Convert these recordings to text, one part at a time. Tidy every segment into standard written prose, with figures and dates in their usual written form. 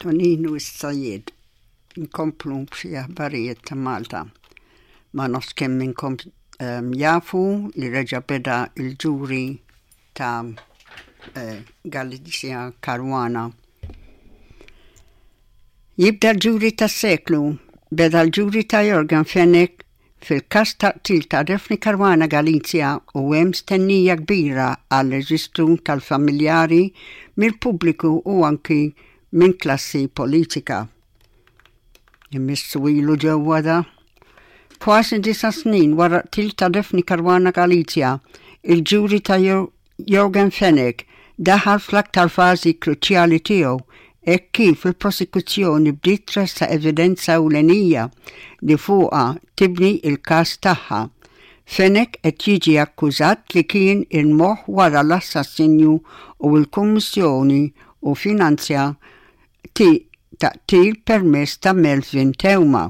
Toninu s-Sajjied Nkomplu b'xi aħbarijiet ta' Malta. Ma nafx kemm minnkom ehm, jafu li reġa' beda il-ġuri ta' eh, Galizia Caruana. Jibda l-ġuri tas-seklu, beda l-ġuri ta' Yorgen Fenech Fil-każ ta' qtil ta' Daphne Caruana Galizia u hemm stennija kbira għal-reġistru tal-familjari mill-pubbliku u anki minn klassi politika. Imissu ilu ġewwa da. Kważi disa' snin wara qtil ta' Daphne Caruana Galizia, il-ġuri ta' Yorgen Fenech daħal fl-aktar fażi kruċjali tiegħu hekk kif il-prosekuzzjoni bdiet tressaq evidenza ewlenija li fuqha tibni l-każ tagħha. Fenech qed jiġi akkużat li kien il-moħħ wara l-assassinju u l-kummissjoni u finanzja ta' qtil permezz ta' Melvin Theuma.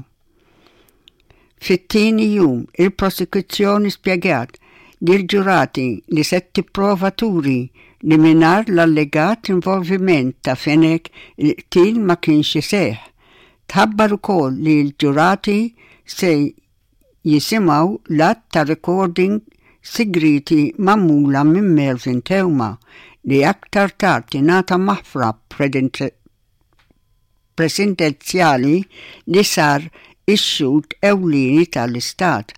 Fit-tieni jum, il-prosekuzzjoni spjegat lill-ġurati li se tipprova turi li mingħajr l-allegat involviment ta' Fenech il-qtil ma kienx iseħħ. Tħabbar ukoll li l-ġurati se jisimgħu l-għadd ta' recording sigrieti magħmula minn Melvin Theuma li aktar tard ingħata maħfra Presidenzjali li sar ix-xhud ewlieni tal-Istat.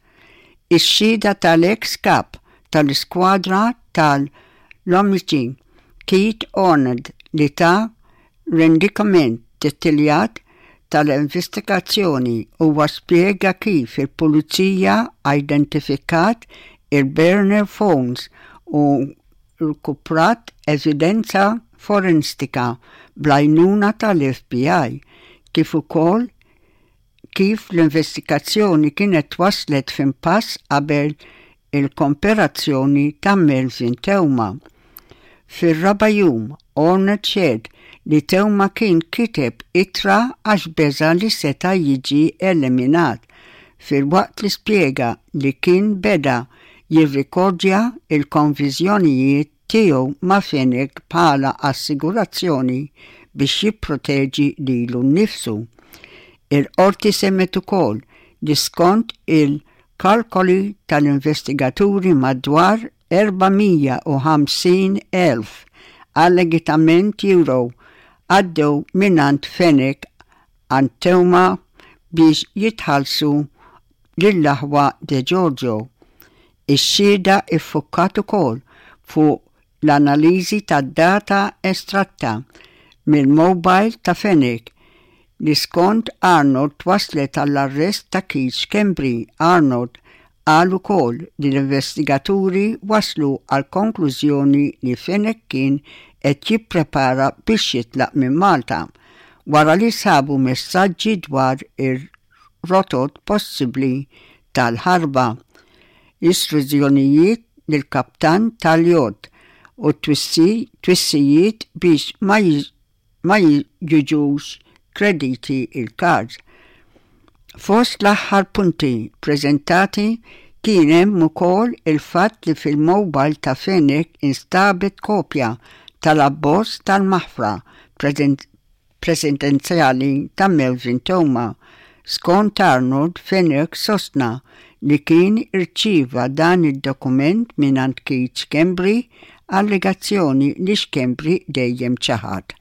Ix-xhieda tal-eks kap tal-iskwadra tal-Lomiċi, Keith Arnaud li ta rendikament dettaljat tal-investigazzjoni huwa spjega kif il-Pulizija identifikat il-burner phones u rkuprat evidenza forenstika bl-għajnuna tal-FBI, kif ukoll kif l-investigazzjoni kienet waslet f'impass qabel il-komperazzjoni ta' Melvin Theuma. Fir-raba' jum, Arnold xehed li Theuma kien kiteb ittra għax beża' li seta' jiġi eliminat, filwaqt li spjega li kien beda jirrikordja l-konviżjonijiet tiegħu ma' Fenech bħala assigurazzjoni biex jipproteġi lilu nnifsu. Il-Qorti semgħet ukoll li skont il-kalkoli tal-investigaturi madwar 450,000 allegatament euro għaddew mingħand Fenech għand Theuma biex jitħallsu lill-aħwa Degiorgio. Ix-xhieda ffukkat ukoll fuq l-analiżi tad-data estratta mill-mowbajl ta' Fenech li skont Arnold wasslet għall-arrest ta' Keith Schembri. Arnold qal ukoll li l-investigaturi waslu għall-konklużjoni li Fenech kien qed jipprepara biex jitlaq minn Malta wara li sabu messaġġi dwar ir rotot possibbli tal-ħarba, istruzzjonijiet lill-kaptan tal-jott u twissijiet biex ma ma jiġux krediti l-kards. Fost l-aħħar punti ppreżentati kien hemm ukoll il-fatt li fil-mobile ta' Fenech instabet kopja tal-abbozz tal-maħfra Presidenzjali ta' Melvin Theuma. Skont Arnold, Fenech sostna li kien irċieva dan id-dokument mingħand Keith Schembri, allegazzjoni li Schembri dejjem ċaħad.